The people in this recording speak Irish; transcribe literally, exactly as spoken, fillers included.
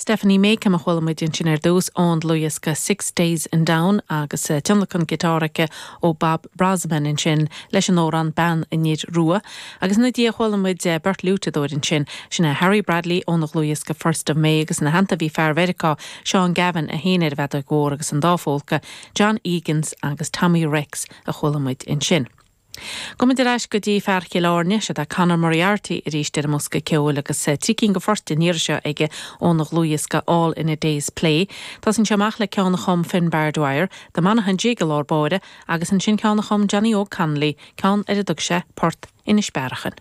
Stephanie Makeham a chuala muid ansin ar dtús ón dlúthdhiosca Six Days in Down agus eh, tionlacan giotáir aici ó Bob Brozman ansin leis an amhrán Bean an Fhir Rua, agus ina dhiaidh chuala muid eh, beirt fhliúiteadóir ansin sin é Harry Bradley óna dhlúthdhiosca First of May agus ina theannta bhí fear Mheiriceá Sean Gavin a sheinn ar an bhfeadóg mhór agus an dá phólca, John Eagans agus Tommy Rex a chuala muid ansin. Gabhfaimid ar ais go dtí fear Chill Airne sé tá Conor Moriarty arís ar an mbosca ceoil agus eh, trí cinn de phoirt an iarraidh seo aige óna dhlúthdhiosca All in a Day's Play. Tá sin amach le ceann a chum Finbar Dwyer, The Monaghan Jig i lár báire agus ansin ceann a chum Johnny Óg Connolly, ceann ar a dtug sé Port Inis Bearachain.